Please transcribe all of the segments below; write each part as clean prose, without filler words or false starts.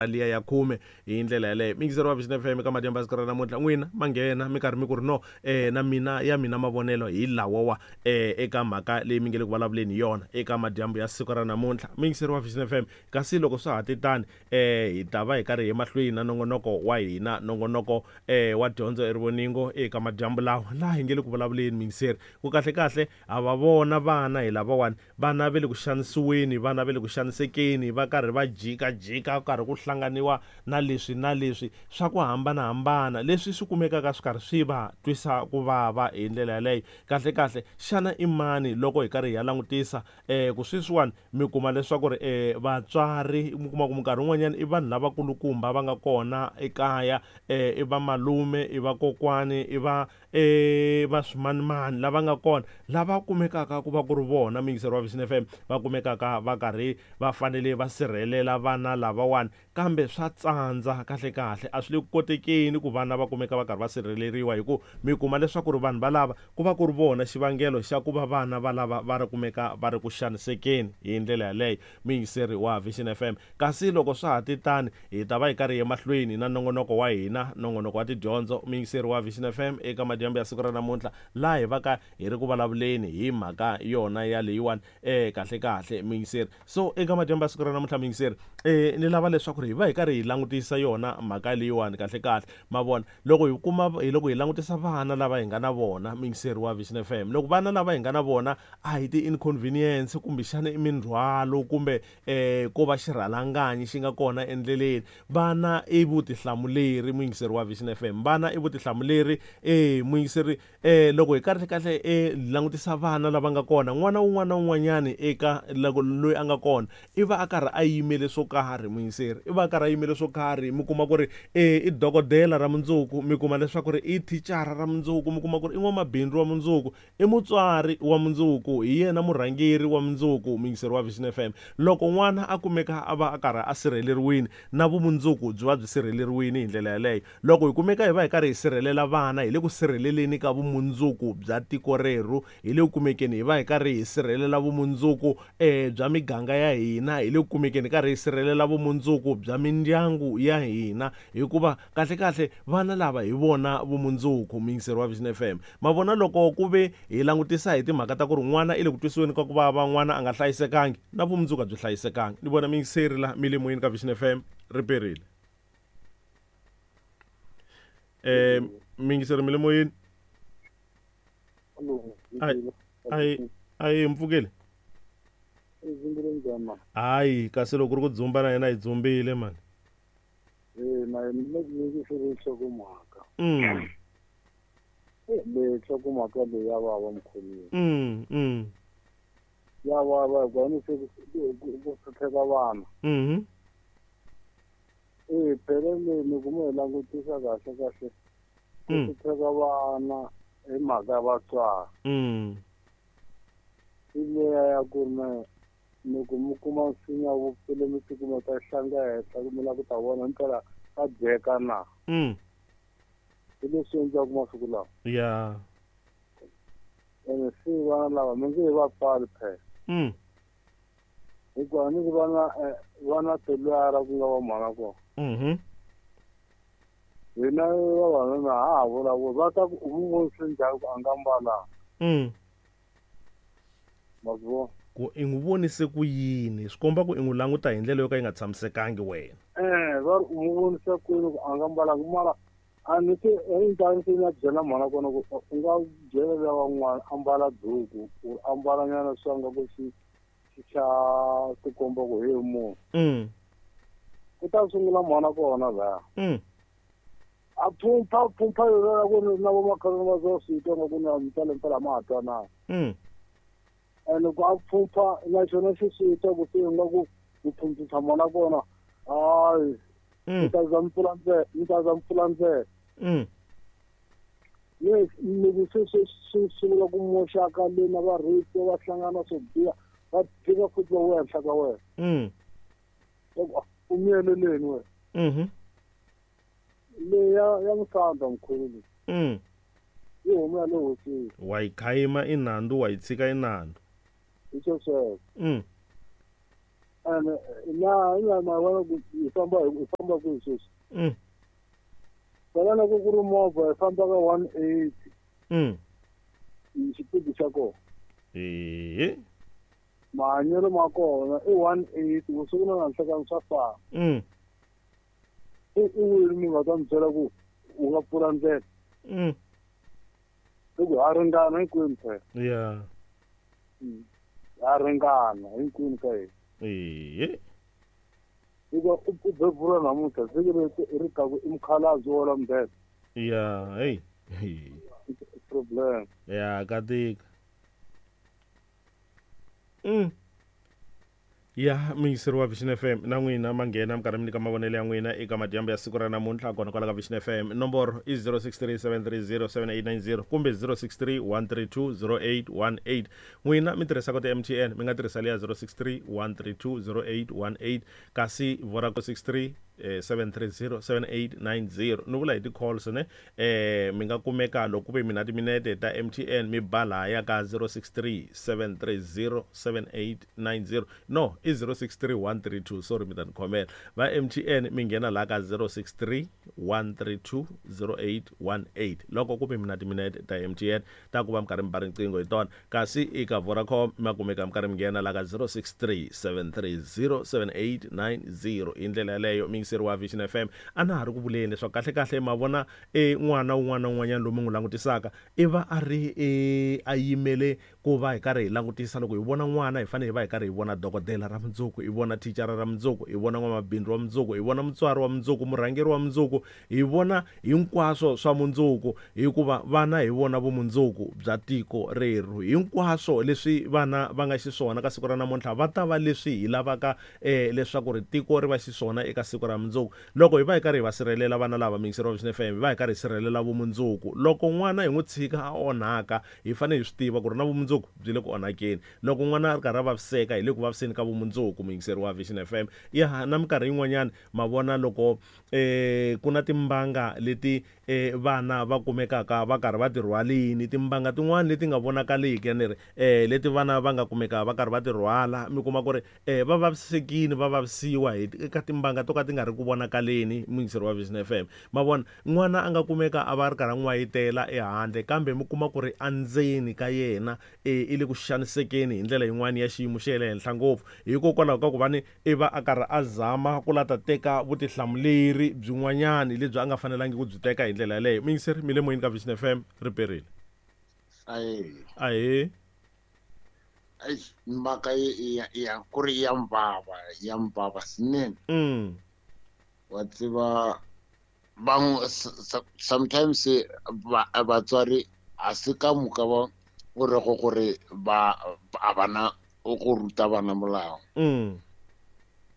Liya ya khume hi ndlela yaleyo. Miyingiseri wa Vision FM eka madyambu ya siku ra namuntlha, n'wina ma nghena mi karhi mi ku ri no na mina ya mina mavonelo hi lawawa eka mhaka leyi mi nge le ku vulavuleni hi yona eka madyambu ya siku ra namuntlha. Miyingiseri wa Vision FM, kasi loko swa ha te tani hi ta va hi karhi hi mahlweni na nongonoko wa hina, nongonoko wa dyondzo erivoningo eka madyambu lawa laha hi nge le ku vulavuleni miyingiseri ku kahle kahle ha va vona vana hi lavawani. Vana va le ku xanisiweni, vana va le ku xanisekeni, va karhi va jikajika, ku karhi ku hlanganiwa na leswi na leswi swa ku hambana-hambana, leswi swi kumekaka swi karhi swi va twisa ku vava hi ndlela yaleyo. Kahle-kahle, xana i mani loko hi karhi hi ya langutisa ku sweswiwani mi kuma leswaku ri vatswari, mi kuma ku minkarhi yin'wanyana i vanhu lavakulukumba va nga kona ekaya, i vamalume, i vakokwani, i va E va swimanimani lava nga kona lava kumekaka ku va ku ri vona muyingiseri wa Vision FM va kumekaka va karhi va fanele va sirhelela vana lavawani kambe swa tsandza kahle-kahle a swi le ku kotekeni ku vana va kumeka va karhi va sirheleriwa hi ku mi kuma leswaku ri vanhu valava ku va ku ri vona xivangelo xa ku va vana valava va ri kumeka va ri ku xanisekeni hi ndlela yaleyo muyingiseri wa Vision FM kasi loko swa ha te tani Hi ta va hi karhi hi emahlweni na nongonoko wa hina, nongonoko wa tidyondzo, muyingiseri wa Vision FM eka madyambu ya siku ra namuntlha, laha hi va ka hi ri ku vulavuleni hi mhaka yona ya leyiwani, eh, kahle-kahle, muyingiseri. So, eka madyambu ya siku ra namuntlha, muyingiseri, eh, ni lava leswaku ri hi va hi karhi hi langutisa yona mhaka leyiwani kahle-kahle. Ma vona? Loko hi kuma, hi loko hi langutisa vana lava hi nga na vona, muyingiseri wa Vision FM, loko vana lava hi nga na vona a hi ti-inconvenience kumbexana i mindzhwalo kumbe eh ko va xirhalanganyi xi nga kona endleleni. Vana i vutihlamuleri, muyingiseri wa Vision FM. Vana i vutihlamuleri, eh muyingiseri, eh loko hi kahle kahle eh langutisa vana lava nga kona, n'wana wun'wana na wun'wanyani eka loko loyi a nga kona i va a karhi a yimele swo karhi muyingiseri, i va a karhi a yimele swo karhi. Mi kuma ku ri eh i dokodela ra mundzuku, mi kuma leswaku ri i thicara ra mundzuku, mi kuma ku ri i n'wamabindzu wa mundzuku, I mutswari wa mundzuku, hi yena murhangeri wa mundzuku, muyingiseri wa Vision FM. Loko n'wana a kumeka a va a karhi a sirheleriwile, na vumundzuku byi va byi sirheleriwile hi ndlela yaleyo. Loko hi kumeka hi va hi karhi hi sirhelela vana, hi le ku sirheleleni ka vumundzuku bya tiko rerhu, hi le ku kumekeni hi va hi karhi hi sirhelela vumundzuku bya miganga ya hina, hi le ku kumekeni hi karhi hi sirhelela vumundzuku bya mindyangu ya hina, hikuva kahle-kahle vana lava hi vona vumundzuku. Muyingiseri wa Vision FM. Ma vona loko ku ve hi langutisa hi timhaka ta ku ri n'wana i le ku twisiweni ka ku vava, n'wana a nga hlayisekangi, na vumundzuku a byi hlayisekangi. Ni vona muyingiseri la mi le moyeni ka Vision FM, ri perile. Eh, muyingiseri mi le moyeni? Ayi, ayi, mpfukele. Hayi, kasi loko ku ri ku dzumba na hina hi dzumbile mani. Eh, na yena ni le ku nhlokomhaka. Leyi nhlokomhaka leyi ya vava mkhulwini. Ya vava hikuva ni se ku hlupheka vana. Eh, phela leyi ni kuma hi langutisa kahle kahle. Ku hlupheka vana hi mhaka ya vatswari. I leya ya ku ri na loko mi kuma nsinya wu pfule mi tikuma ta hlanga henhla mi lava ku ta vona himpela ka dyeka na. Hi leswi endliwaka masiku lawa. Ya. Ene se vana lava mi nge he va pfali phela. Hikuva ni ku vana vana tilwara ku nga va mhana kona. Hina vavanuna ha ha vulavuli va ta ku u n'wi vonise njhani ku a nga mbalanga. Ma swi vona? Ku i n'wi vonise ku yini swi komba ku i n'wi languta hi ndlela yo ka yi nga tshamisekangi wena. Eh, va ri u n'wi vonisa ku yini ku a nga mbalanga mara a ni se endzhaku se ni byela mhana kona ku u nga byela luya wa n'wana ambala duku ku ambala nyana swa nga ku xi xi xa tikomba ku he munhu. Ku ta sungula mhana kona laya. A phumpha phumpha yona ku ri na vomakhelwani va zo swi twa nga ku na mpela mpela ma ha twanana. Ene ku a phumpha na xona xi swi twa ku se nga ku ku phumphisha mhana kona hayi mi ta za mi pfula ndlela mi ta za mi pfula ndlela. Yes, loko se se swi sungula ku moxaka le na va rape va hlangana swo biha va tika futhi va vuya henhla ka wena. U miyeleleni wena. Leyi ya ya musandza mkhulu leyi. Yi huma ya le hosini. Wa yi khayima i nandzu wa yi tshika i nandzu. Hi swo sweswo. Ene na ina ma vona ku hi famba hi famba kwihi sweswi. Phela loko ku ri movha hi famba ka 180. Xipidi xa kona. Mahanyelo ma kona i 180 vusiku na nanhlekani swa fana. I wini mi nga ta mi byela ku u nga pfula ndlela. I ku ha ringana hinkwenu phela. Yeah. Ha ringana hinkwenu ka hina. Hikuva u bebula namuntlha siku leri ri taku i mukhalabye wo la mudende. Yeah, hey. Problem. Yeah, ka tika. Ya muyingiseri wa Vision FM na n'wina ma nghena mi karhi mi nyika mavonelo ya n'wina eka madyambu ya siku ra namuntlha kona kwala ka Vision FM. Nomboro i 0637307890 kumbe 0631320818. N'wina mi tirhisaka ti-MTN mi nga tirhisa leya 0631320818, kasi Vodacom 63 7307890. Ni vula hi ti-calls ne, mi nga kumeka loko ku ve mina timinete ta MTN mi ba lahaya ka 0637307890. No, i 063132, sorry mi ta ni khomela. Va MTN mi nghena laha ka 0631320818 loko ku ve mina timinete ta MTN ta ku va mi karhi mi ba riqingho hi tona, kasi eka Vodacom ma kumeka mi karhi mi nghena laha ka 0637307890. Hi ndlela yaleyo muyingiseri wa Vision FM a na ha ri ku vuleni leswaku kahle-kahle ma vona n'wana wun'wana na wun'wanyana loyi mi n'wi langutisaka i va a ri a yimele ku va hi karhi hi langutisa. Loko hi vona n'wana hi fanele hi va hi karhi hi vona dokodela ra mundzuku, hi vona thicara ra mundzuku, hi vona n'wamabindzu wa mundzuku, hi vona mutswari wa mundzuku, murhangeri wa mundzuku, hi vona hinkwaswo swa mundzuku, hikuva vana hi vona vumundzuku bya tiko rerhu. Hinkwaswo leswi vana va nga xiswona ka siku ra namuntlha va ta va leswi hi lavaka leswaku ri tiko ri va xiswona eka siku ra mundzuku. Loko hi va hi karhi hi va sirhelela vana lava, muyingiseri wa Vision FM, hi va hi karhi hi sirhelela vumundzuku. Loko n'wana hi n'wi tshika a onhaka, hi fanele hi swi tiva ku ri na vumundzuku byi le ku onhakeni. Loko n'wana a ri karhi a vaviseka, hi le ku vaviseni ka vumundzuku, muyingiseri wa Vision FM. Ya na minkarhi yin'wanyana ma vona loko ku na timbanga leti vana va kumekaka va karhi va ti rhwalini, timbanga tin'wani leti nga vonakaliki, ni ri leti vana va nga kumeka va karhi va ti rhwala, mi kuma ku ri va vavisekile, va vavisiwa hi eka timbanga to ka ti nga ri ku vonakaleni, muyingiseri wa Vision FM. Ma vona, n'wana a nga kumeka a va a ri karhi a n'wayitela ehandle, kambe mi kuma ku ri endzeni ka yena i le ku xanisekeni hi ndlela yin'wani ya xiyimo xa le henhla ngopfu, hikokwalaho ka ku va ni i va a karhi a zama ku la ta teka vutihlamuleri byin'wanyani lebyi a nga fanelangi ku byi teka hi ndlela yaleyo. Muyingiseri, mi le moyeni ka Vision FM, ri perile. Ahee. Ahee. Eish, mhaka ya ku ri ya mbava, ya mbava swinene. Wa tseba bangwe sometimes batswari a se ka moka ba o rego gore ba a bana go ruta bana molao.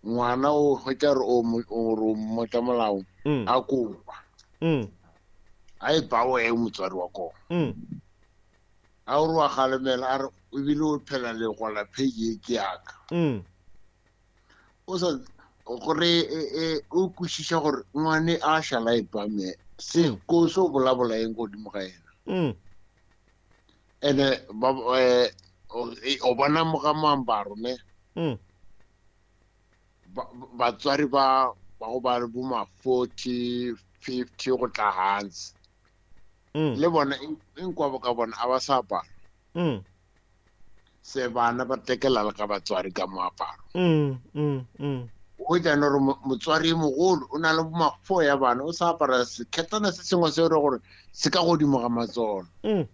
Ngwana o hwetša re o o mmotsa molao, a kopa. A e ba o e motswari wa kona. A o re wa galemela, a re ebile o phela le gola page e ke yaka. O sa gore o kwešiša gore ngwane a šala e ba me se ko so bolabola eng godimo ga yena. Ene ba o bona mo ga moambaro ne. Batswari ba go ba bo ma 40, 50 go tla hansi. Le bona hinkwavo ka bona a ba sa apara. Se bana ba tekela le ka batswari ka moaparo. O tla no re motswari e mogolo o na le bo ma 4 ya bana, o sa apara sekhetana se sengwe se re gore se ka godimo ga matsolo. O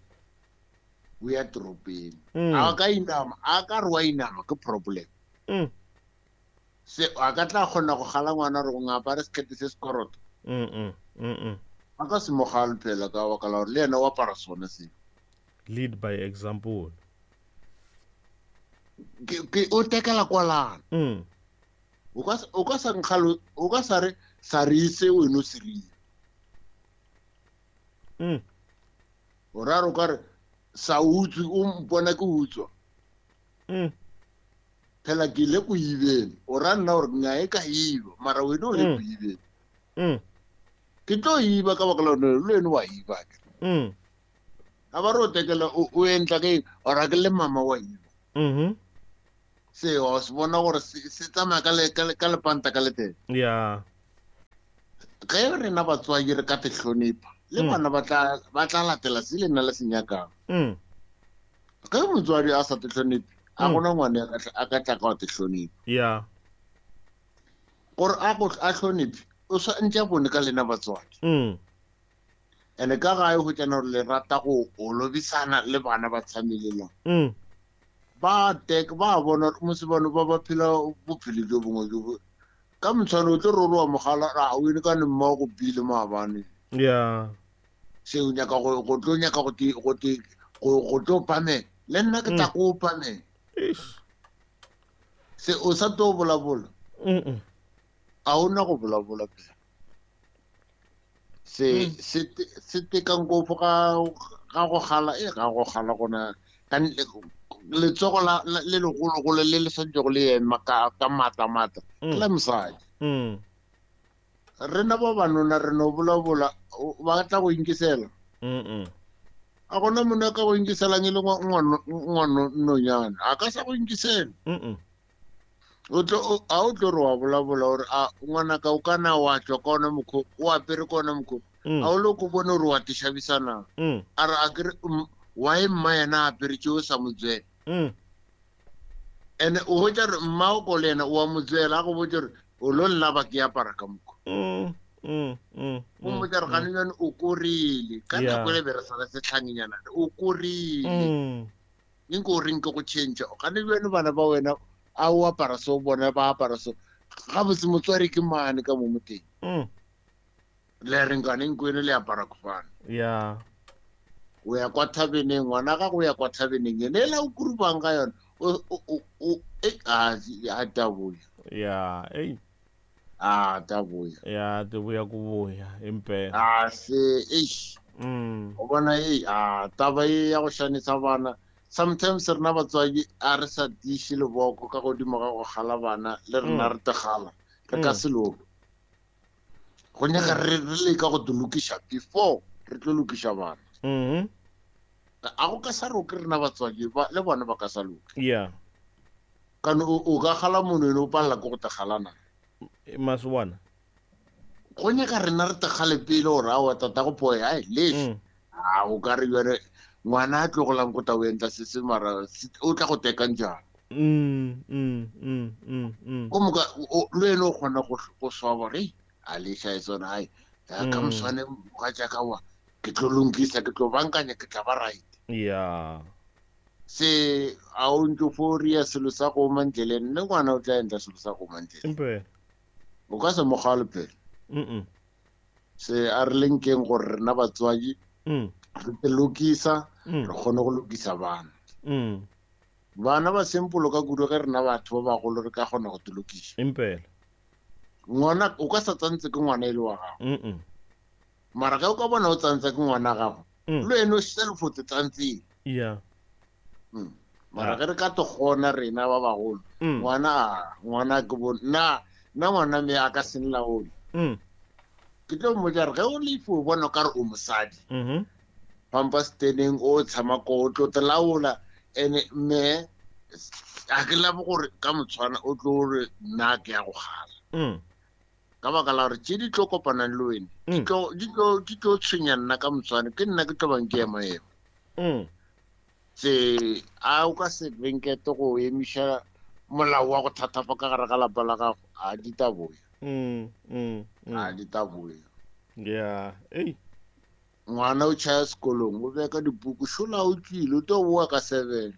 ya toropeng. A ka inama, a ka re wa inama ke problem. Se a ka tla kgona go gala ngwana gore o ngapare sekete se sekoroto. A ka se mo gale phela ka baka la gore le yena o apara sone seo. Lead by example. Ke o tekela kwalana. O ka o ka sa nkgalo, o ka sa re sa re se o eno se rile. O ra re o ka re sa utswe, o mpona ke utswa. Phela ke ile ko ibeng, o ra nna gore nna e ka iba, mara wena o le ko ibeng. Ke tlo iba ka baka la gore le wena wa iba ke. A ba re o tekela, o entla ke eng? O ra ke le mama wa iba. Se wa se bona gore se tsamaya ka lepanta ka leteng. Ya. Ge rena batswadi re ka te hlonipha, le bana ba tla latela se le nna le se nyakang. Ge motswadi a sa te hloniphe, a gona ngwana a ka tla ka te hlonipha. Ya. Gore a go a hloniphe, o sa ntse bone ka lena batswadi. Ene ka gae go tsena gore le rata go olobisana le bana ba tshamelela. Ba tek ba bona mosebano ba ba phela bophelo jo bongwe jo ka motshwane o tlo roroa mogala a o ene ka ne mma go bile maabane. Ya. Se o nyaka go tlo nyaka go tlo pame le nna ke tla go pame. Se o sa tlo bolabola. A ona go bolabola pele. Se se tekang go ga go gala e ga go gala gona ka letsogo la le legologolo le le santse go le ema ka matla matla la mosadi. Rena ba banona re no bolabola ba tla go inkisela. A gona monna ka go inkiselang e le ngwana nonyana a ka sa go inkisela. O tlo a o tlo re wa bolabola gore a ngwana ka o kana wa tswa ka ona mokgo o apere ka ona mokgo a o le ko bone gore wa tishabisana a re a kere wa e mma yena a apere tšeo sa motswela. Ene o botsa re mma o ko le yena o a motswela a go botsa gore o lo nna ba ke apara ka mokgo. O mmotsa re gane jane o korile ka nako le be re sala setlhangenyana o korile nko o reng ke go change gane jane bana ba wena a o apara so bona ba apara so ga botse motswari ke mane ka mo moteng. Le reng ka neng kwene le apara kofana. Ya. O ya kwa thabeneng ngwana ga go ya kwa thabeneng ene la o kurubang ka yona o a taboya. Ya, ei. A taboya. Ya, taboya ku boya impela. A se eish. O bona ei a taba e ya go shanisa bana. Sometimes rena batswadi a re sa tiiše leboko ka godimo ga go gala bana le rena re tegala re ka se loke. Go nyaka re leka go lokiša before re tlo lokiša bana. A go ka sa roke rena batswadi le bona ba ka sa loke. Yeah. Kana o ka gala monwene o palela ke go tegalana. Maswana. Go nyaka rena re tegale pele gore aowa tata go poe ai leš. A o ka re jare ngwana a tlogolang go tla o entla se se mara o tla go tekang jang. Ko moka le wena o kgona go swaba gore a leša e tsona ai ka moswane ga jaaka wa ke tlo lonkisa ke tlo bankanya ke tla ba right. Yeah. Se a o ntse fo ria selo sa go mandleleng le ngwana o tla entla selo sa go mandleleng. O ka se mo gale pele. Se a re lenkeng gore rena batswadi re te lokisa re kgone go lokisa bana. Bana ba simple ka kudu ge rena batho ba bagolo re ka kgona go te lokisa. Impela. Ngwana o ka sa tsantse ke ngwana e le wa gago. Mara ge o ka bona o tsantse ke ngwana gago le wena o self o te tsantseng. Yeah. Mara ge re ka te kgona rena ba bagolo ngwana ke bo nna ngwana me a ka se nlaole. Ke tlo mmotsa re ge o le ifo o bona o ka re o mosadi. Pampa steneng o tshama ko o tlo tlaola ene me a ke la gore ka motshwana o tlo re nna ke ya go gala. Ka baka la gore tše di tlo kopanang le wena di tlo tshwenya nna ka motshwana ke nna ke tlo bang ke ema ema. Se a o ka se benkete go emiša molao wa go thatafa ka gare ga lapa la gago a di taboya. A di taboya. Yeah. Ei. Ngwana o tšhaya sekolong o beka dipuku šola o tlile o tlo boa ka 7.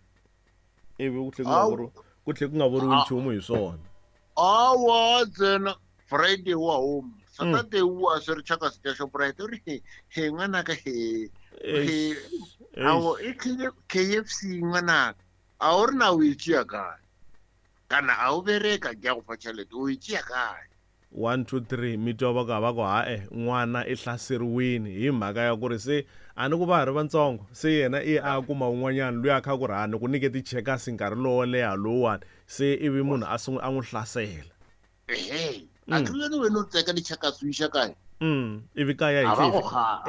Ebe go tle go nga boriwe nchumu hi swona. Awa tsena Friday wa home. Saturday wa se re chaka se Shoprite re he ngwana ka he. Awo e KFC ngwana a o rena o itšea kae? Kana a o bereka ke ya go fa tšhelete o itšea kae? 1 2 3 mi twa va ka va ku hae n'wana i hlaseriwini hi mhaka ya ku ri se a ni ku va ha ri vantsongo se yena i a kuma un'wanyana loyi a kha ku ri a ni ku nyike ti-checkers nkarhi lowo leha lowuwani se ivi munhu a sungula a n'wi hlasela. Ehe a tlile wena o teka di-checkers o iša kae? Ivi kaya hi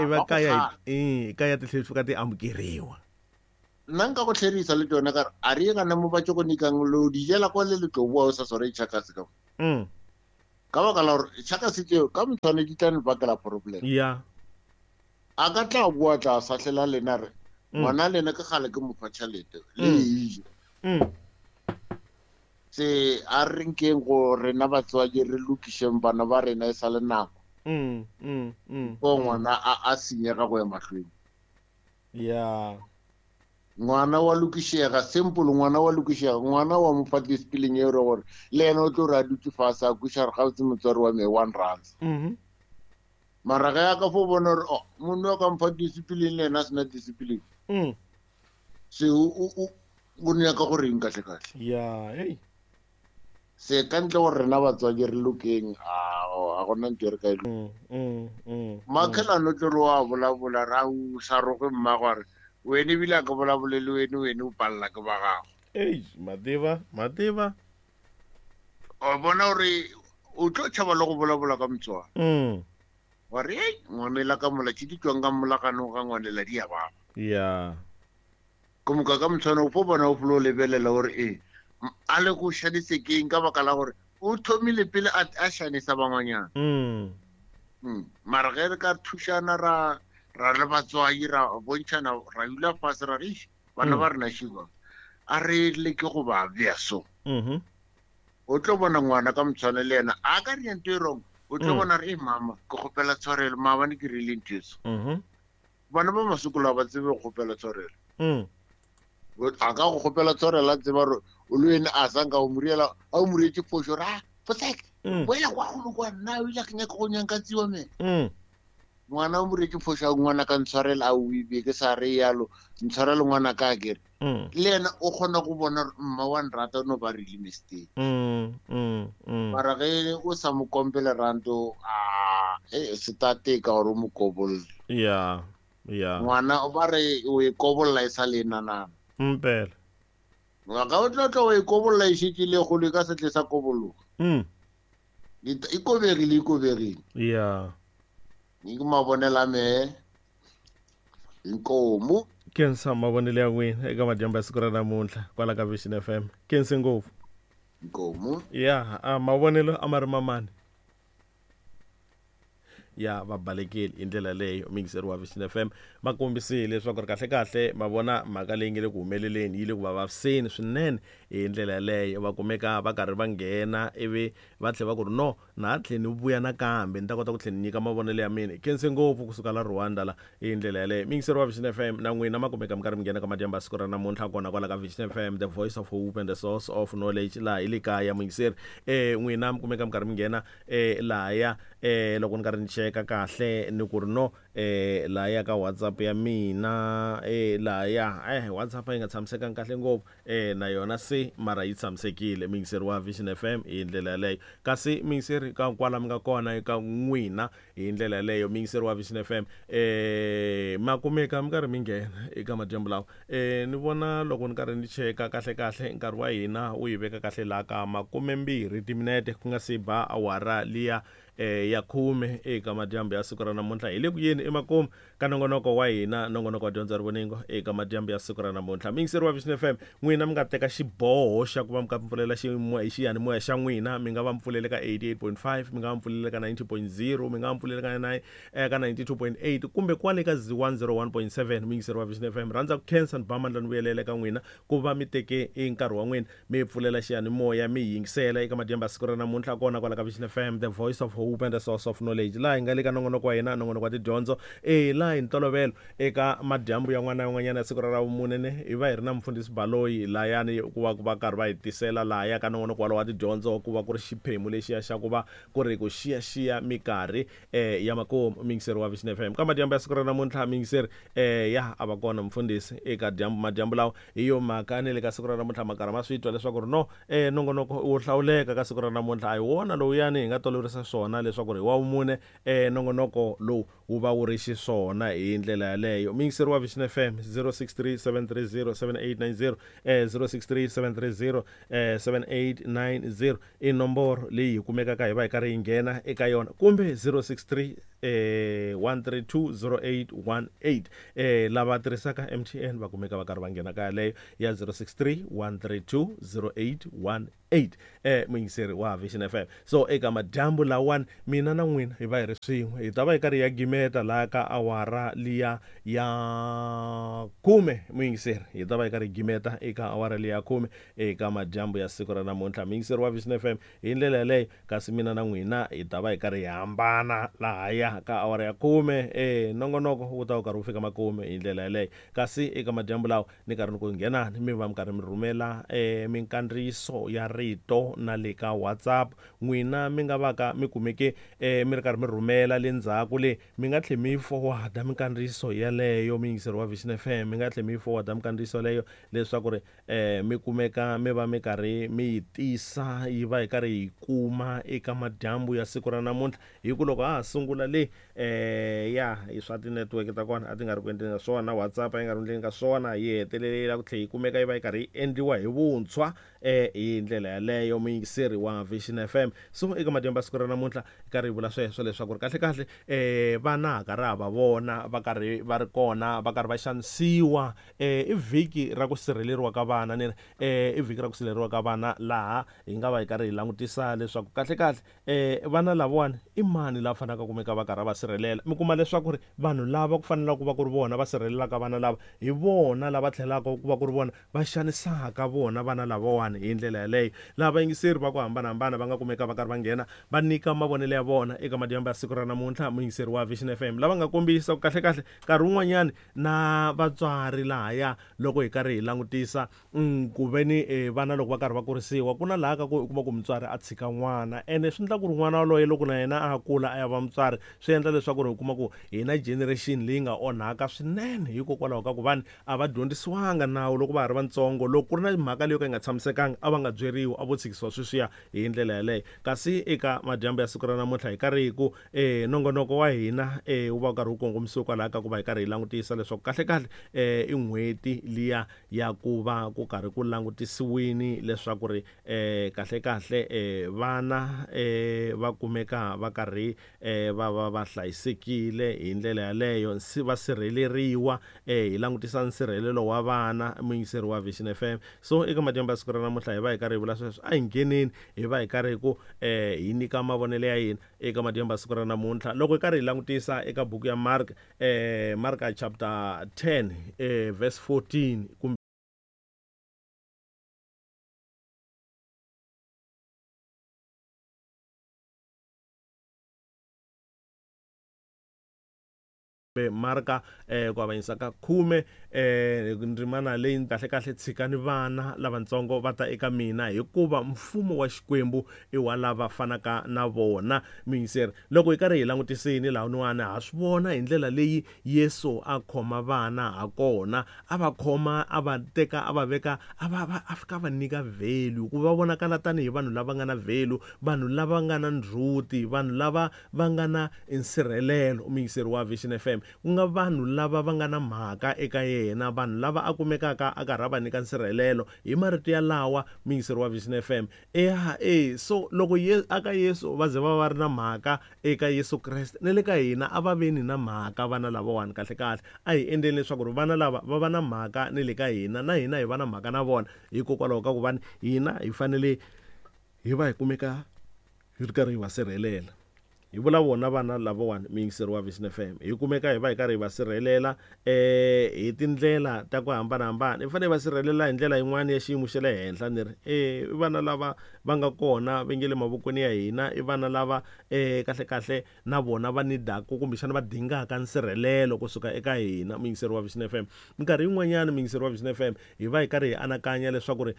ivi kaya kaya ti tlhela ti fika ti amukeriwa. Nna nka go tlherisa le tsone ka re a re ye kana mo ba tšo go nikang lo di jela kwa le le tlo boa o sa sware tšhakase ka. Ka baka la gore tšhakase tseo ka motshwane di tla ne bakela problem. Ya. A ka tla boa tla sahlela lena re ngwana lena ke gale ke mo fa tšhelete le e je. Se a re nkeng go rena batswadi re lokišeng bana ba rena e sa le nako. Ko ngwana a senyega go ya mahlweni. Ya. Ngwana wa lokišega, simple ngwana wa lokišega, ngwana wa mo fa discipline e re gore le yena o tlo re a dutse fase a kweša gore gabotse motswadi wa me 1 rand. Mara ge a ka fo bona gore oh monna wa ka mpha discipline le yena a sena discipline. Se o nyaka gore eng kahle kahle. Ya, hey. Se ka ntle gore rena batswadi re lokeng, a gona ntho e re ka e Makhelano tlo re wa bolabola ra o sa roge mmago a re wene ebile a ka bolabole le wene, wene o palela ke ba gago. Ei, mativa, mativa. O bona gore o tlo tšhaba le go bolabola ka motswadi. Wa re, ei, ngwanela ka mola, tše di tšwang ka molaganong ga ngwanela di a baba. Ya. Ke moka ka motshwana o fo bona o folo lebelela gore e a le go šanise keng ka baka la gore o thomile pele a šanisa bangwanyana. Mara ge re ka thušana ra le batswadi ra bontšhana ra dula fase ra re bana ba rena šiba a re leke go ba bea so. O tlo bona ngwana ka motshwana le yena a ka re ntho e wrong, o tlo bona re mama ke kgopela tshwarelo maabane ke rile ntho e so. Bana ba masokolo a ba tsebe go kgopela tshwarelo. A ka go kgopela tshwarelo a tseba gore o le wena a sanka o moriela a o morietse phošo ra fotsek boela kwa golo kwa nna o ile ke nyaka go nyanka tsiwa me. Ngwana o morietse phošo a ngwana ka ntshwarela a o ibe ke sa re yalo ntshwarele ngwana ka kere. Le yena o kgona go bona mma wa nrata no ba rile mistake. Mara ge o sa mo kompele ranto a se tate ka gore o mo kobolle. Ya. Ya. Ngwana o ba re o e kobolla e sa le nanana. Mpela. Ga o tlo tlo o e kobolla e šetše le golo ka setle sa kobologa. E kobegile, e kobegile. Ya. Ke mabonela me. Inkomo. Ke nsa mabonele ya n'wina eka madyambu ya siku ra namuntlha kwala ka Vision FM. Ke nse ngopfu. Inkomo. Ya, a mavonelo a ma ri mamani. Ya va balekile hi ndlela leyo mixer wa Vision FM va kombisile leswaku ri kahle kahle ma vona mhaka leyi nge le ku humeleleni yi le ku va vaviseni swinene hi ndlela yaleyo va kumeka va karhi va nghena ivi va tlhela va ku ri no na ha tlhe ni vuya nakambe ni ta kota ku tlhela ni nyika mavonelo ya mina. Khense ngopfu kusuka la Rwanda la hi ndlela yaleyo mixer wa Vision FM na n'wina ma kumeka mi karhi mi nghena ka madyambu ya siku ra namuntlha kona kwala ka Vision FM, the voice of hope and the source of knowledge laha hi le kaya muyingiseri. N'wina mi kumeka mi karhi mi nghena lahaya loko ni karhi ni cheka kahle ni ku ri no lahaya ka WhatsApp ya mina lahaya WhatsApp yi nga tshamisekanga kahle ngopfu na yona se mara yi tshamisekile muyingiseri wa Vision FM hi ndlela yaleyo. Kasi muyingiseri ka kwala mi nga kona eka n'wina hi ndlela yaleyo muyingiseri wa Vision FM ma kumeka mi karhi mi nghena eka madyambu lawa. Ni vona loko ni karhi ni cheka kahle kahle nkarhi wa hina wu yi veka kahle laha ka 20 timinete ku nga si ba awara liya ya 10 eka madyambu ya siku ra namuntlha. Hi le ku yeni emakumu ka nongonoko wa hina, nongonoko wa dyondzo ya rivoningo eka madyambu ya siku ra namuntlha. Muyingiseri wa Vision FM, n'wina mi nga teka xiboho xa ku va mi ka pfulela xiyanimoya xa n'wina, mi nga va mi pfulele ka 88.5, mi nga va mi pfulele ka 90.0, mi nga va mi pfulele ka 9 ka 92.8 kumbe kwale ka 101.7. Muyingiseri wa Vision FM, rhandza ku khensa ni ba mandla ni vuyelela eka n'wina ku va mi teke nkarhi wa n'wina mi pfulela xiyanimoya mi yingisela eka madyambu ya siku ra namuntlha kona kwala ka Vision FM, the voice of hope and the source of knowledge. Laha hi nga le ka nongonoko wa hina, nongonoko wa tidyondzo, laha hi ntolovelo eka madyambu ya n'wana yan'wanyana ya siku ra ravumune ne hi va hi ri na mufundhisi Baloyi layani ku va ku va karhi va hi tisela lahaya ka nongonoko walowo wa tidyondzo, ku va ku ri xiphemu lexiya xa ku va ku ri ku xiyaxiya minkarhi ya makumu. Muyingiseri wa Vision FM ka madyambu ya siku ra namuntlha, muyingiseri ya a va kona mufundhisi eka madyambu lawa. Hi yo mhaka ni le ka siku ra namuntlha makarhi ma swi twa leswaku ri no nongonoko wo hlawuleka ka siku ra namuntlha a hi wona lowuyani hi nga toloverisa swona leswaku ri wa vumune nongonoko lowu wu va wu ri xiswona hi ndlela yaleyo. Muyingiseri wa Vision FM 063 730 7890 063 730 7890 i nomboro leyi hi kumekaka hi va hi karhi hi nghena eka yona, kumbe 063 132 0818. Lava tirhisaka MTN va kumeka va karhi va nghena ka yaleyo ya 063 132 0818, muyingiseri wa Vision FM. So eka madyambu lawani mina na n'wina hi va hi ri swin'we, hi ta va hi karhi ya gimeta laha ka awara liya ya 10. Muyingiseri, hi ta va hi karhi hi gimeta eka awara liya ya 10 eka madyambu ya siku ra namuntlha, muyingiseri wa Vision FM, hi ndlela yaleyo. Kasi mina na n'wina hi ta va hi karhi hi hambana lahaya ka awara ya 10. Nongonoko wu ta wu karhi wu fika makume hi ndlela yaleyo. Kasi eka madyambu lawa ni karhi ni ku nghenani mi va mi karhi mi rhumela minkandziyiso ya rito na le ka WhatsApp. N'wina mi nga va ka mi kumeke mi ri karhi mi rhumela le ndzhaku le, mi nga tlhe mi forwarda minkandziyiso yaleyo, muyingiseri wa Vision FM, mi nga tlhe mi forwarda minkandziyiso yaleyo leswaku ri mi kumeka mi va mi karhi mi yi tisa, yi va hi karhi hi kuma eka madyambu ya siku ra namuntlha. Hi ku loko ha ha sungula le ya hi swa ti-network ta kona a ti nga ri ku endleni ka swona, WhatsApp a yi nga ri endleni ka swona, yi hetelela ku tlhela yi kumeka yi va yi karhi yi endliwa hi vuntshwa hi ndlela yaleyo, muyingiseri wa Vision FM. So eka madyambu ya siku ra namuntlha hi karhi hi vula sweswo leswaku ri kahle kahle vana ha karhi ha va vona va karhi va ri kona, va karhi va xanisiwa. I vhiki ra ku sirheleriwa ka vana, ni ri i vhiki ra ku sirheleriwa ka vana, laha hi nga va hi karhi hi langutisa leswaku kahle kahle vana lavawani i mani lava fanelaka kumeka va karhi va sirhelela. Mi kuma leswaku ri vanhu lava ku fanelaka ku va ku ri vona va sirhelelaka vana lava, hi vona lava tlhelaka ku va ku ri vona va xanisaka vona vana lavawani hi ndlela yaleyo. Laha vayingiseri va ku hambanahambana va nga kumeka va karhi va nghena va nyika mavonelo ya vona eka madyambu ya siku ra namuntlha, muyingiseri wa Vision FM, lava nga kombisa ku kahle kahle nkarhi wun'wanyani na vatswari lahaya loko hi karhi hi langutisa ku veni vana loko va karhi va kurisiwa, ku na laha ka ku u kuma ku mutswari a tshika n'wana, ene swi endla ku ri n'wana waloye loko na yena a kula a ya va mutswari, swi endla leswaku ri u kuma ku hi na generation leyi nga onhaka swinene, hikokwalaho ka ku vanhu a va dyondzisiwanga nawu loko va ha ri vatsongo. Loko ku ri na mhaka leyo ka yi nga tshamisekanga a va nga byeriwi, a vo tshikisiwa sweswiya hi ndlela yaleyo. Kasi eka madyambu ya siku ra namuntlha hi karhi hi ku nongonoko wa hina wu va wu karhi wu kongomisiwe kwalaho ka ku va hi karhi hi langutisa leswaku kahle kahle i n'hweti liya ya ku va ku karhi ku langutisiwini leswaku ri kahle kahle vana va kumeka va karhi va va va hlayisekile hi ndlela yaleyo, va sirheleriwa. Hi langutisa nsirhelelo wa vana, muyingiseri wa Vision FM. So eka madyambu ya siku ra namuntlha hi va hi karhi hi vula sweswo, a hi ngheneni hi va hi karhi hi ku hi nyika mavonelo ya hina eka madyambu ya siku ra namuntlha. Loko hi karhi hi langutisa eka buku ya Mark, Mark chapter 10 verse 14 kumbe Marka ku avanyisa ka 10 ndzimana leyi kahle kahle, tshikani vana lavatsongo va ta eka mina, hikuva mfumo wa Xikwembu i wa lava fanaka na vona. Muyingiseri, loko hi karhi hi langutisini lahawani ha swi vona hi ndlela leyi Yesu a khoma vana ha kona, a va khoma, a va teka, a va veka, a va a fika va nyika value, ku va vonakala tanihi vanhu lava nga na value, vanhu lava nga na ndzhuti, vanhu lava va nga na nsirhelelo, muyingiseri wa Vision FM, ku nga vanhu lava va nga na mhaka eka yena, vanhu lava a kumekaka a karhi a va nyika nsirhelelo hi marito ya lawa, muyingiseri wa Vision FM. So loko aka Yesu va ze va va ri na mhaka eka Yesu Kreste, na le ka hina a va veni na mhaka vana lavawani. Kahle kahle a hi endleni leswaku ri vana lava va va na mhaka ni le ka hina, na hina hi va na mhaka na vona, hikokwalaho ka ku vani hina hi fanele hi va hi kumeka hi ri karhi hi va sirhelela. Hi vula vona vana lavawani, muyingiseri wa Vision FM, hi kumeka hi va hi karhi hi va sirhelela hi tindlela ta ku hambanahambana. Hi fanele hi va sirhelela hi ndlela yin'wana ya xiyimo xa le henhla, ni ri i vana lava va nga kona va nge le mavokweni ya hina, i vana lava kahle kahle na vona va nidaka kumbexana va dingaka nsirhelelo kusuka eka hina, muyingiseri wa Vision FM. Minkarhi yin'wanyana, muyingiseri wa Vision FM, hi va hi karhi hi anakanya leswaku ri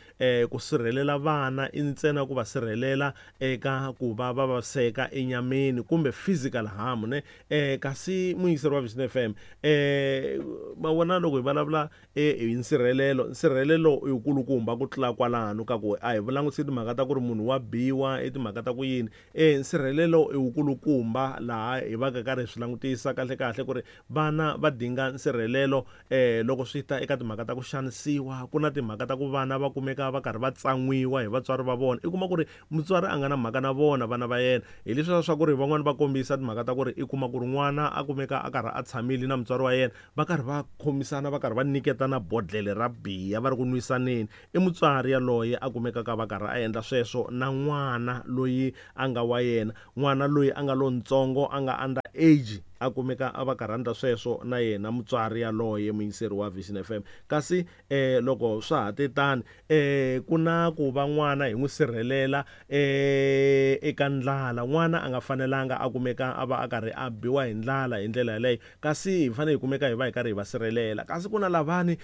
ku sirhelela vana i ntsena ku va sirhelela eka ku va va vaviseka enyameni kumbe physical harm, ne? Kasi muyingiseri wa Vision FM, ma vona loko hi vulavula hi nsirhelelo, nsirhelelo i wukulukumba ku tlula kwalano ka ku a hi langutisi timhaka ta ku ri munhu wa biwa, i timhaka ta ku yini. Nsirhelelo i wukulukumba laha hi va ka karhi hi swi langutisa kahle kahle ku ri vana va dinga nsirhelelo loko swi ta eka timhaka ta ku xanisiwa. Ku na timhaka ta ku vana va kumeka va karhi va tsan'wiwa hi vatswari va vona, i kuma ku ri mutswari a nga na mhaka na vona vana va yena, hi leswiya swa ku ri van'wana Van'wani va kombisa timhaka ta ku ri i kuma ku ri n'wana a kumeka a karhi a tshamile na mutswari wa yena, va karhi va khomisana, va karhi va nyiketana bodlele ra biya, va ri ku nwisaneni. I mutswari yaloye a kumekaka va karhi a endla sweswo na n'wana loyi a nga wa yena, n'wana loyi a nga lontsongo, a nga under age, a kumeka a va karhi a endla sweswo na yena mutswari yaloye, muyingiseri wa Vision FM. Kasi loko swa ha te tani, ku na ku va n'wana hi n'wi sirhelela eka ndlala. N'wana a nga fanelanga a kumeka a va a karhi a biwa hi ndlala hi ndlela yaleyo, kasi hi fanele hi kumeka hi va hi karhi hi va sirhelela. Kasi ku na lavani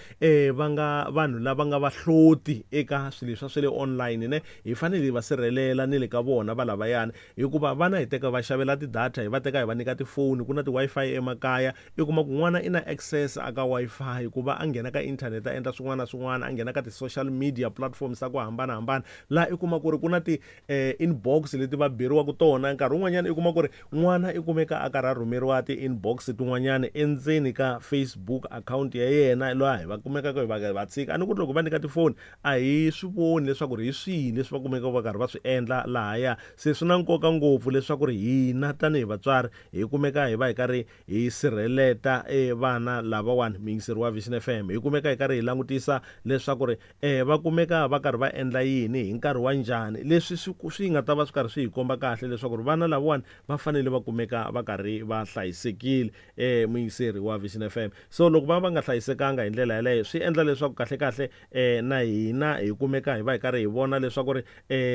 va nga vanhu lava nga vahloti eka swilo leswa swa le online ne, hi fanele hi va sirhelela ni le ka vona va lavayani, hikuva vana hi teka va xavela ti-data, hi va teka hi va nyika tifoni, ku na ti-Wi-Fi emakaya. I kuma ku n'wana i na access aka Wi-Fi ku va a nghena ka internet a endla swin'wana na swin'wana, a nghena ka ti-social media platforms ta ku hambanahambana, laha i kuma ku ri ku na ti-inbox leti va beriwaka tona. Nkarhi wun'wanyana i kuma ku ri n'wana i kumeka a karhi a rhumeriwa ti-inbox tin'wanyana endzeni ka Facebook account ya yena, laha hi va kumekaka hi va va tshika. A ni ku ri loko va nyika tifoni a hi swi voni leswaku ri hi swihi leswi va kumekaka va karhi va swi endla lahaya. Se swi na nkoka ngopfu leswaku ri hina tanihi vatswari hi kumeka hi va hi karhi hi sirheleta vana lavawani, muyingiseri wa Vision FM. Hi kumeka hi karhi hi langutisa leswaku ri va kumeka va karhi va endla yini hi nkarhi wa njhani, leswi swi nga ta va swi karhi swi hi komba kahle leswaku ri vana lavawani va fanele va kumeka va karhi va hlayisekile, muyingiseri wa Vision FM. So loko va va nga hlayisekanga hi ndlela yaleyo, swi endla leswaku kahle kahle na hina hi kumeka hi va hi karhi hi vona leswaku ri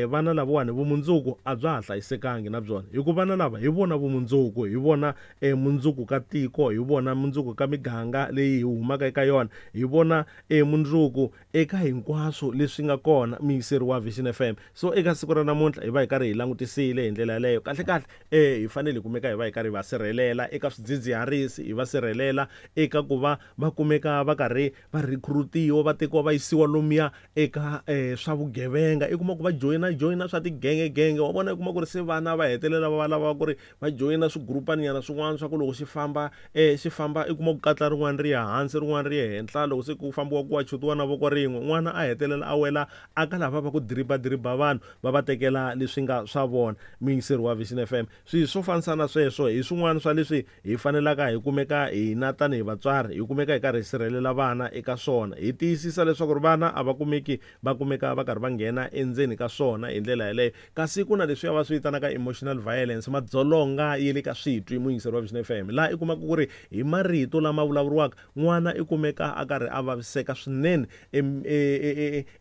vana lavawani vumundzuku a bya ha hlayisekangi na byona, hikuva vana lava hi vona vumundzuku, hi vona mundzuku ka tiko, hi vona mundzuku ka miganga leyi hi humaka eka yona, hi vona mundzuku eka hinkwaswo leswi nga kona, muyingiseri wa Vision FM. So eka siku ra namuntlha hi va hi karhi hi langutisile hi ndlela yaleyo. Kahle kahle hi fanele hi kumeka hi va hi karhi hi va sirhelela eka swidzidziharisi, hi va sirhelela eka ku va va kumeka va karhi va recruitiwa, va tekiwa va yisiwa lomuya eka swa vugevenga. I kuma ku va joyina swa tigengegenge, wa vona, i kuma ku ri se vana va hetelela va lava ku ri va joyina swigurupaninyana swin'wana swa ku loko xi famba xi famba, i kuma ku katla rin'wana ri ya hansi, rin'wana ri ya henhla, loko se ku fambiwa ku wa chutiwa na voko rin'we, n'wana a hetelela a wela aka lava va ku diriba vanhu va va tekela leswi nga swa vona, muyingiseri wa Vision FM. Swilo swo fanisana sweswo hi swin'wana swa leswi hi fanelaka hi kumeka hina tanihi vatswari hi kumeka hi karhi hi sirhelela vana eka swona, hi tiyisisa leswaku ri vana a va kumeki va kumeka va karhi va nghena endzeni ka swona hi ndlela yaleyo. Kasi ku na leswiya va swi vitanaka emotional violence, madzolonga ya le ka switwi, muyingiseri wa Vision FM, laha i kumaka ku ri hi marito lama vulavuriwaka n'wana i kumeka a karhi a vaviseka swinene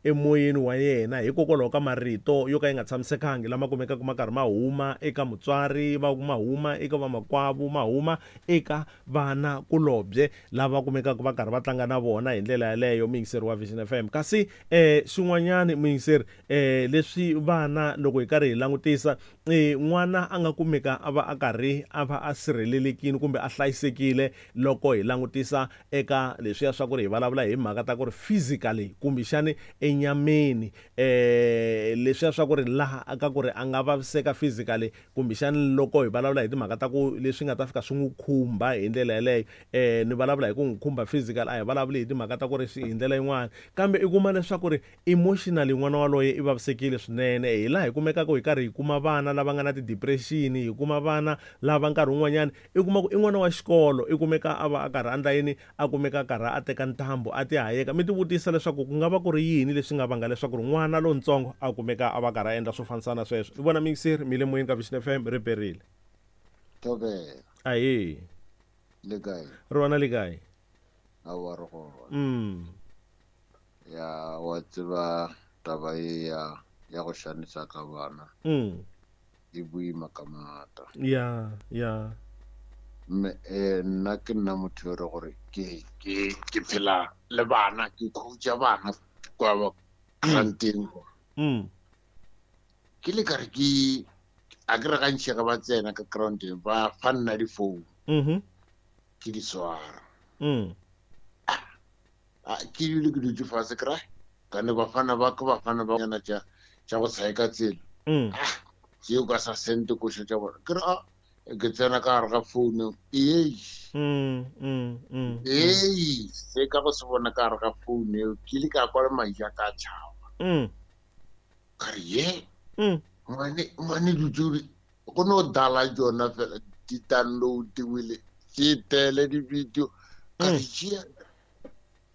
emoyeni wa yena hikokwalaho ka marito yo ka ya nga tshamisekangi lama kumekaka ma karhi ma huma eka mutswari, va ma huma eka vamakwavo, ma huma eka vana kulobye lava kumekaka va karhi va tlanga na vona hi ndlela yaleyo, muyingiseri wa Vision FM. Kasi xin'wanyani muyingiseri, leswi vana loko hi karhi hi langutisa, n'wana a nga kumeka a va a karhi a va a sirhelelekile kumbe a hlayisekile loko hi langutisa eka leswiya swa ku ri hi vulavula hi mhaka ta ku ri physically kumbexani enyameni, leswiya swa ku ri laha ka ku ri a nga vaviseka physically kumbexani loko hi vulavula hi timhaka ta ku leswi nga ta fika swi n'wi khumba hi ndlela yaleyo, ni vulavula hi ku n'wi khumba physical, a hi vulavuli hi timhaka ta ku ri hi ndlela yin'wana, kambe i kuma leswaku ri emotionally n'wana waloye i vavisekile swinene. Hi laha hi kumekaka hi karhi hi kuma vana lava nga na ti-depression, hi kuma vana lava nkarhi wun'wanyana i kuma ku i n'wana wa xikolo i kumeka a va a karhi a endla yini, a kumeka a karhi a teka ntambu a ti hayeka. Mi ti vutisa leswaku ku nga va ku ri yini leswi nga vanga leswaku ri n'wana lontsongo a kumeka a va karhi a endla swo fanisana sweswo. I vona miyingiseri mi le moyeni ka Vision FM, ri perile. Thobela. Ahee. Le kae? Rona le kae? Aowa re gona. Ya wa tseba taba ye ya go xanisa ka bana. E boima ka maata. Ya, ya. Mme nna ke nna motho yo re gore ke phela le bana, ke coacha bana kwa granteng. Ke le kare ke a ke re gantši ge ba tsena ka groundeng ba fa nna difounu. Ke di swara. Ke dule ke dutse fase kry kane bafana ba ke bafana ba nyana tša go tshaeka tsela. Tseo ka sa sente koša tša bona. Ke re a ke tsena ka gare ga founu ei. Ei, se ka go se bona ka gare ga founu eo ke ile ka kwa le madi a ka tšhaba. Ka re ye ngwane dutse Go no dala tsona fela di downloadiwile tše tele di-video ka di tšea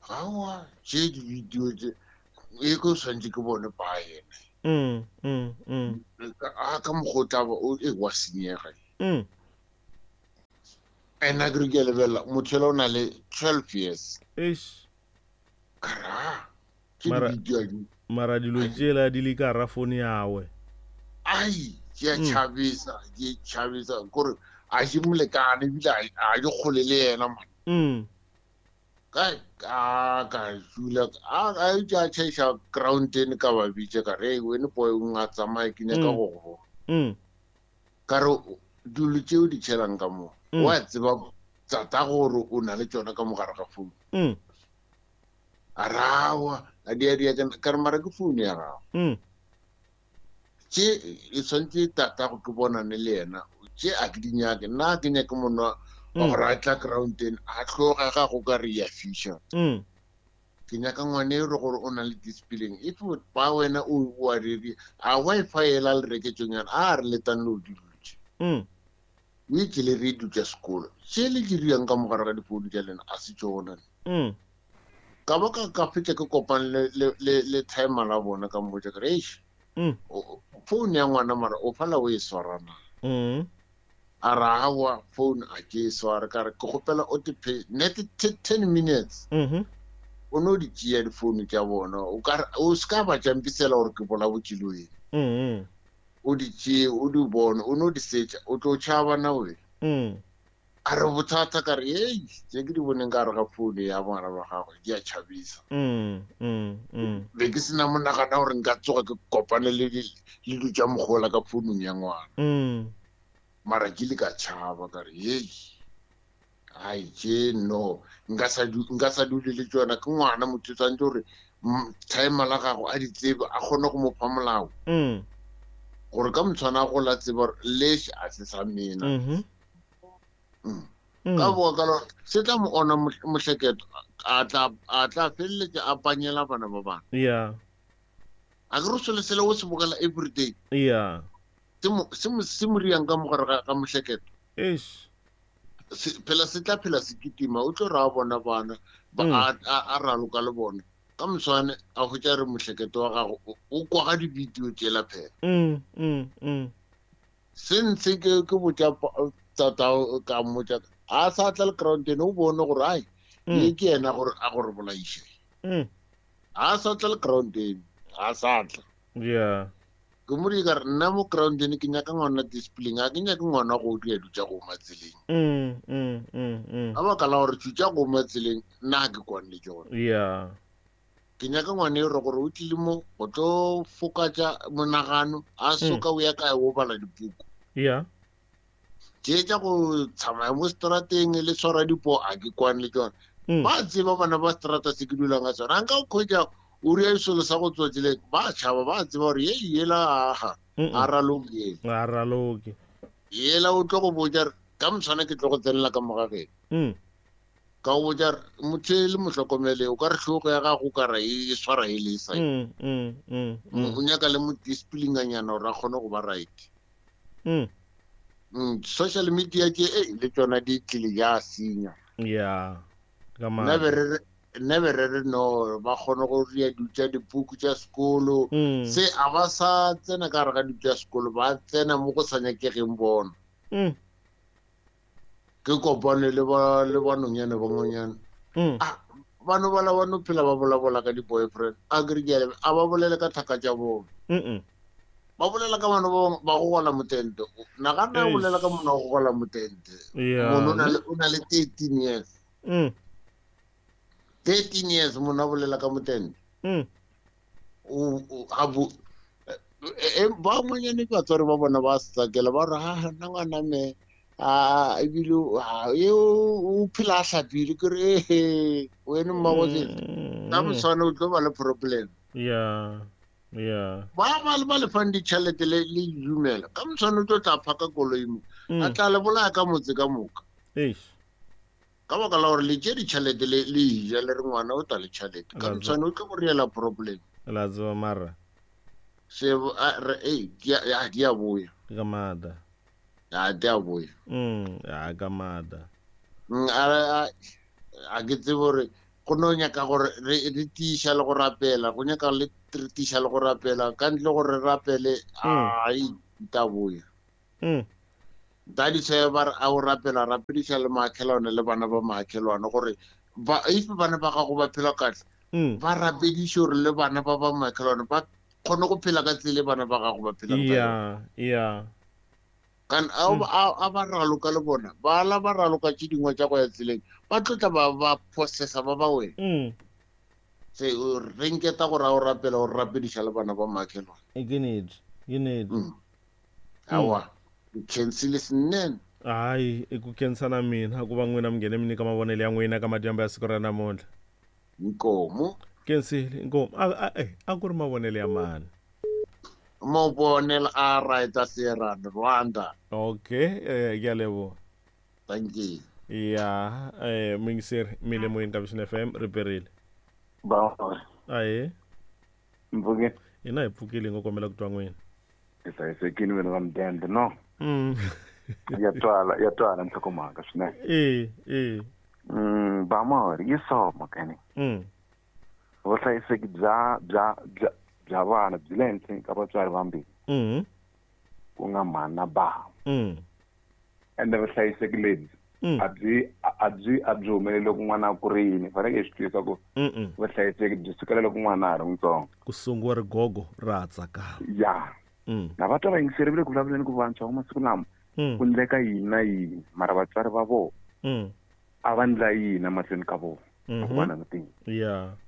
gawa tše di-video tše e ko swantse ke bone ba ene a ka mokgwa o tlaba e wa senyega ene a kere ke a lebelela motho ela o na le 12 years kara ke di-video mara dilo tšela di le ka gara phone yawe ai ke a tšhabisa ke tšhabisa kore a se molekane ebile a di kgole le yena man ka ka dula a a tšhaiša groundene ka ba bitše ka re wene boy o nga tsamaye ke nyaka go go ka re dilo tšeo di tšhelang ka mo wa tseba tata gore o na le tšona ka mogare ga founu a rawa a dia dia ka re mara ke founu ya gago tše e tshwanetse tata go ke bonane le yena tše a ke di nyake nna ke nyake monwa wa gore a tla groundeng a tloga ga go ka re ya fiša ke nyaka ngwane e re gore o na le discipline if ba wena o a reri a wifi ela le reketsong yana a re letang le o dulutše o itse le re dutša sekolo tše le diriang ka mogare ga difounu tša lena a se tšona ka ba ka fetša ke kopane le timer la bona ka mmotša kere eish phone ya ngwana mara o fala o e swarana a ra awa phone a ke e sware ka re ke kgopela o te net 10 minutes o no di tšea difounu tša bona o ka o se ka ba tšampisela gore ke bolabotše le wena o di tšee o di bone o no di setša o tlo tšhaba na wena a re bothata ka re ei tše ke di boneng ka gare ga founu ya ngwana ba gagwe di a tšhabisa be ke sena monagana gore nka tsoga ke kopane le dilo tša mogola ka founung ya ngwana mara ke le ka tšhaba ka re ei ai tše no nka sa dule le tšona ke ngwana motho tshwanetse gore timer la gago a di tsebe a kgone go mo fa molao gore ka motshwana a gola tseba gore leš a se sa mena ka boa ka lona se tla mo ona mohleketo a tla feleletša a panyela bana ba bana yeah a ke re selo sele o se bogela everyday yeah se mo riang ka mogare ga mohleketo eish phela se tla phela se kitima o tlo ra bona bana a raloka le bona ka moswane a hwetša re mohleketo wa gago o kwa ga di-video tšela phela se ntse ke botša tata ka mmotša a sa tla le groundene o bone gore ai ye ke yena gore a gore bolaiše a sa tla le groundene a sa tla yeah ke mo di ka re nna mo groundene ke nyaka ngwana discipline a ke nyake ngwana go dira dilo tša go ma tseleng ka baka la gore tša go ma tseleng nna ke kwane le tšona yeah ke nyaka ngwane e re gore o tlile mo go tlo fokatša monagano a soka o ya kae o bala dipuku yeah tše tša go tsamaya mo strateng le tshwara dipo a ke kwane le tšona ba tseba bana ba strata se ke dulang ka sona a nka o kgwetša o ria selo sa go tswa tseleng ba tšhaba ba tseba gore ye yela aga a raloke a raloke yela o tlo go botša ka motshwana ke tlo go tsenela ka mogageng ka go botša motho e le mohlokomele o ka re hlogo ya gago ka ra e swara e le sa o nyaka le mo disciplinanyana gore a kgone go ba right social media ke e le tšona di tlile ya senya yeah ka nna be re re no ba kgone go ria dilo tša dipuku tša sekolo se a ba sa tsena ka gare ga dilo tša sekolo ba tsena mo go sa nyakegeng bona ke kopane le ba nonyane ba ngwanyana bano bala ba no phela ba bolabola ka di-boyfriend a kere ke a ba bolele ka thaka tša bona ba bolela ka bano ba go gola motente nagana a bolela ka mona wa go gola motente mono o na le 13 years 13 years mona a bolela ka motente ba ngwanyane batswari ba bona ba sakela ba re ha nna ngwana me a ebile o phela a hlapile ke re ehe wene mmagotse ka moswane o tlo ba le problem yeah yeah ba ba le fang ditšhelete le dumela ka moswane o tlo tla phaka koloi mo a tla le bolaya ka motse ka moka ka baka la gore le tše ditšhelete le ija le re ngwana o tla le tšhelete ka moswane o tlo go riela problem la tseba mara se di a boya ka maata. Ya di a boya. Ya ka mada. A ke tsebe gore go no nyaka gore re tiiša le go rapela, go nyaka le re tiiša le go rapela, ka ntle gore re rapele ai ta boya. Dadi se ba re a o rapela, rapediša le maakhelwane le bana ba maakhelwane gore ba if bana ba gago ba phela kahle, ba rapediše gore le bana ba ba maakhelwane ba kgone go phela ka tsela e bana ba gago ba phelang ka yona. Yeah. Kan a ba raloka le bona, ba la ba raloka tše dingwe tša go ya tseleng, ba tlotla ba processa ba ba wena. Se re nketa gore a o rapela o rapediša le bana ba maakhelwane. Ke nnete, ke nnete. Aowa, ke khensile swinene. Hayi, i ku khensa na mina ku va n'wina mi nghene mi nyika mavonelo ya n'wina ka madyambu ya siku ra namuntlha. Inkomu. Khensile, inkomu. A ku ri mavonelo ya mani? Mavonelo a right a Sierra Rwanda. Okay, ke a leboha. Thank you. Ya, muyingiseri mi le moyeni ka Vision FM ri perile. Ba. Ahee. Mpfukile. Hina hi pfukile, hi ngo kombela ku twa n'wina. Hi hlayisekile wena va mudende, no? Ya twala, ya twala nhlokomhaka swinene. E. Ba mori, yi so mhaka ni. Vuhlayiseki bya vana byi le henhleni ka vatswari vambirhi. Ku nga mhani na bava. Ende vuhlayiseki lebyi a byi humeleli loko n'wana a kurile. Fanekele hi swi twisisa ku vuhlayiseki byi sukela loko n'wana a ha ri mutsongo. Ku sungiwa rigogo ra ha tsakama. Ya. Na va twa va yingiseri va le ku vulavuleni ku vantshwa va masiku lama ku endleka yini na yini, mara vatswari va vona a va endla yini emahlweni ka vona loko va langutile.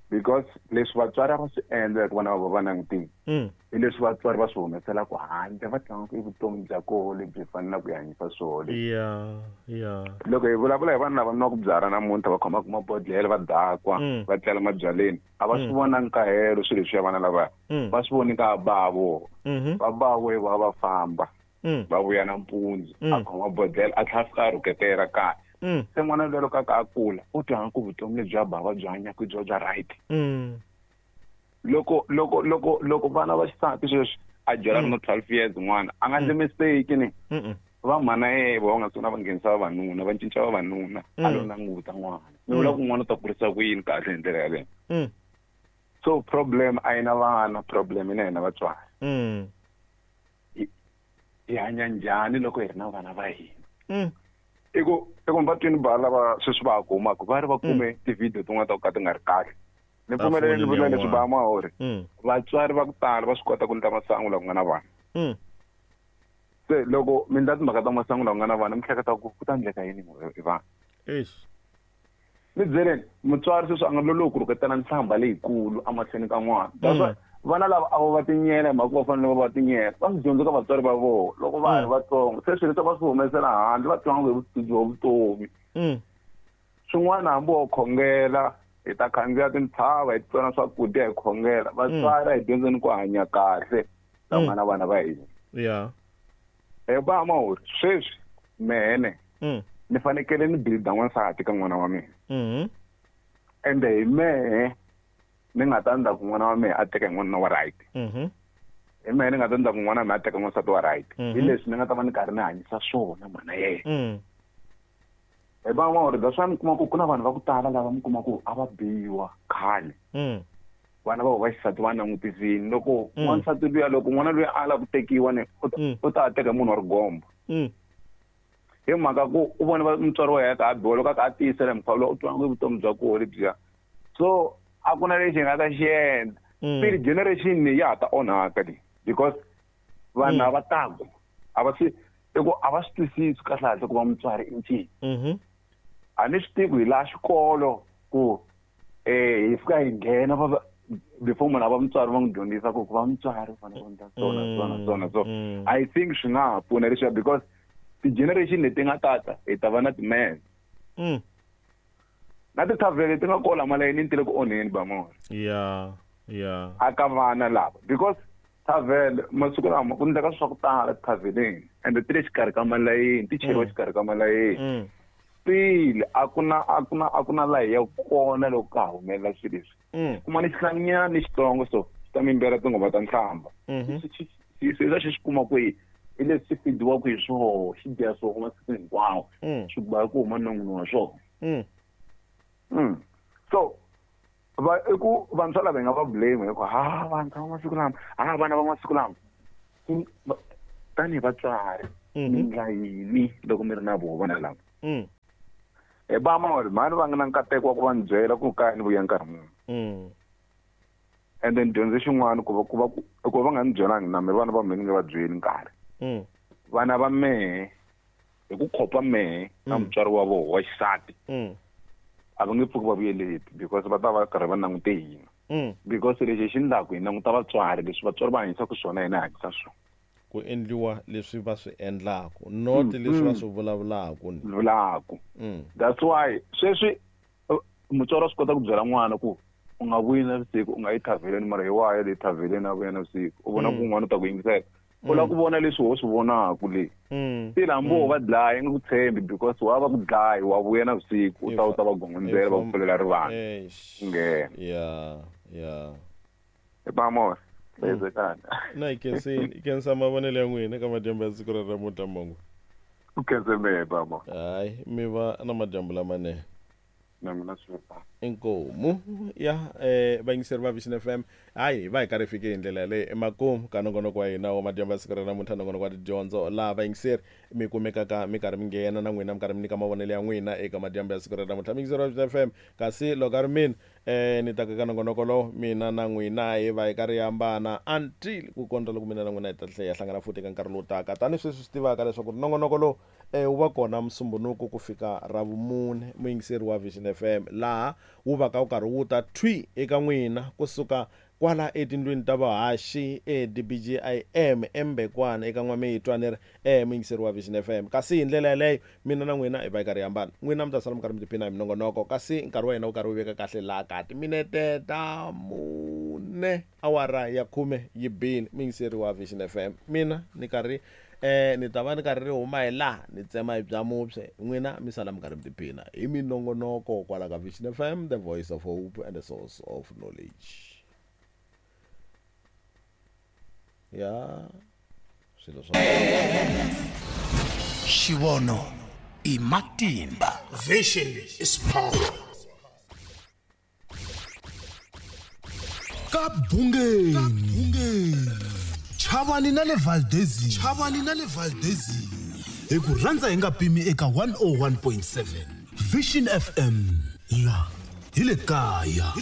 Because leswi vatswari a va swi endla loko vana va vona va langutile, hi leswi vatswari va swi humeselaka handle, va tlanga i vutomi bya koho lebyi fanelaka ku hi hanyisa swona leswi. Loko hi vulavula hi vanhu lava nwaka byalwa namuntlha, va khomaka mabodhlele, va dakwa, va tlela mabyaleni, a va swi vonangi nkahelo swilo leswiya vana lavaya. Va swi voni ka ba vona. Va ba vo va va famba, va vuya nampundzu, a khoma bodhlele, a tlhela a fika a rhuketela kaya. Se n'wana luya loko a ka a kula, u twa ku vutomi lebyi a bava byi hanyaka byo bya right. Loko vana va xisati sweswi a byela ri na 12 years n'wana, a nga endli mistake ni. Va mhana yena va nga sungula va nghenisa vavanuna, va cinca vavanuna, a lo languta n'wana. Mi vula ku n'wana u ta kurisa ku yini kahle hi ndlela yaleyo? So problem a yi na vana, problem yi na hina vatswari. Hi hanya njhani loko hi ri na vana va hina? I ku va twini ba lava sweswi va ha kumaka, va ri va kume ti-video tin'wana ta ku ka ti nga ri kahle. Ni pfumelele ni vula leswi ba mahori. Vatswari va ku tala va swi kota ku endla masangu laha ku nga na vana. Se loko mi endla timhaka ta masangu laha ku nga na vana, mi hleketa ku ku ta endleka yini hi vana? Ni byeleni, mutswari sweswi a nga lolohi ku rhuketela nhlamba leyikulu emahlweni ka n'wana. That's why vana lava a va va tinyela hi mhaka ku va fanele va va tinyela, va swi dyondze ka vatswari va vona loko va ha ri vatsongo. Se swilo leswi va swi humesela handle, va twanga hi vutivi bya vutomi. Swin'wana hambi wo khongela, hi ta khandziya tintshava, hi tsona swakudya, hi khongela. Vatswari a hi dyondzeni ku hanya kahle la nga na vana va hina. Hi ba mahori, sweswi mene ni fanekele ni builda n'wansati ka n'wana wa mina. Ende hi mehe ni nga ta endla ku n'wana wa mina a teka hi n'wanuna wa right. Hi mehe ni nga ta endla ku n'wana wa mina a teka n'wansati wa right. Hi leswi ni nga ta va ni karhi ni hanyisa swona mhana yena. Hi va mahori, that's why mi kuma ku ku na vanhu va ku tala lava mi kuma ku a va biwa khale. Vana va va xisati va langutisini. Loko n'wansati luya, loko n'wana luya a lava ku tekiwa ni, u ta teka munhu wa rigombo. Hi mhaka ku u vone mutswari wa yena a biwa, loko a ka a tiyisela mukhuva lowu, u twa nga vutomi bya koho lebyiya. So a ku na lexi hi nga ta xi endla. Still generation leyi ya ha ta onhaka leyi, because vanhu lava taku a va swi, i ku a va swi twisisi kahle kahle ku va mutswari i ncini. A ni swi tivi ku hi laha xikolo ku hi fika hi nghena va va, before munhu a va mutswari va n'wi dyondzisa ku va mutswari u fanele ku endla so na so na so na so. I think swi nga ha pfuna leswiya because ti-generation leti nga tata hi ta va na ti-man. Na ti-tavern leti nga kola malayini ti le ku onheni ba mona. A ka vana lava because tavern masiku lama ku endleka swa ku tala taverneni and ti le xikarhi ka malayini, ti cheriwa xikarhi ka malayini. Still a ku na laha hi ya kona loko ka ha humelela swilo leswi. Kuma ni xihlanyana ni xitsongo so xi ta mi yimbela tinghoma ta nhlamba. Xi swi kuma kwihi? Hi leswi swi fidiwaka hi swoho xi dya swoho masiku hinkwawo swi ba ku huma non'wini wa swona. So va i ku vantshwa lava hi nga va blame hi ku ha vantshwa va masiku lama ha vana va masiku lama tanihi vatswari mi ndla yini loko mi ri na voho vana lava. Hi ba mori mhani va nga na nkateko wa ku va ni byela ku kaya ni vuya nkarhi muni. And then dyondze xin'wana ku va nga ni byelangi na me vana va mehe ni nga va byeli nkarhi. Vana va mehe hi ku khopa mehe na mutswari wa voho wa xisati a va nge pfuki va vuyeleti because va ta va karhi va langute hina. Because lexi hi xi ndlaku hi languta vatswari leswi vatswari va hanyisaka swona hina hi hanyisa swona. Ku endliwa leswi va swi endlaku not leswi va swi vulavulaku. Vulaku. That's why sweswi mutswari wa swi kota ku byela n'wana ku u nga vuyi na vusiku u nga yi thaveleni mara hi waya le thaveleni a vuya na vusiku u vona ku un'wana u ta ku yingisela. U lava ku vona leswi ho swi vonaku le. Se hambi wo va dlaya nga ku tshembi because wa va ku dlaya wa vuya na vusiku u ta va gongondzela va ku pfulela rivanti. Nghena. Yeah. Vamos. Na i khensa mavonelo ya n'wina eka madyambu ya siku ra namuntlha Mongo. U khense mehe baba. Hayi mi va na madyambu lamanene. Na mina swi va. Inkomu ya vayingiseri va Vision FM hayi va hi karhi fike hi ndlela yaleyo emakumu ka nongonoko wa hina wa madyambu ya siku ra namuntlha nongonoko wa tidyondzo laha vayingiseri mi kumekaka mi karhi mi nghena na n'wina mi karhi mi nyika mavonelo ya n'wina eka madyambu ya siku ra namuntlha muyingiseri wa Vision FM kasi loko a ri mina ni ta ka nongonoko lowu mina na n'wina hi va hi karhi hi hambana until ku kondza loko mina na n'wina hi ta tlhela hi hlangana futhi eka nkarhi lowu taka tanihi sweswi swi tivaka leswaku nongonoko lowu wu va kona Musumbunuku ku fika Ravumune muyingiseri wa Vision FM laha wu va ka wu karhi wu ta thwi eka n'wina kusuka kwala etindlwini ta vahaxi eDBGIM eMbekwana eka N'wamitwa ni ri muyingiseri wa Vision FM kasi hi ndlela yaleyo mina na n'wina hi va hi karhi hi hambana n'wina mi ta sala mi karhi mi tiphina hi minongonoko kasi nkarhi wa hina wu karhi wu veka kahle laha ka timinete ta 4 awara ya 10 yi bini muyingiseri wa Vision FM mina ni karhi ni ta va ni karhi ri huma hi laha ni tsema hi bya mupye n'wina mi sala mi karhi mi tiphina hi minongonoko kwala ka Vision FM, the voice of hope and the source of knowledge. Ya swilo swa Xivono i matimba. Vision is power. Ka Bungeni. Chavani na le Valdezini. Hi ku rhandza hi nga pimi eka 101.7 Vision FM la hi le kaya.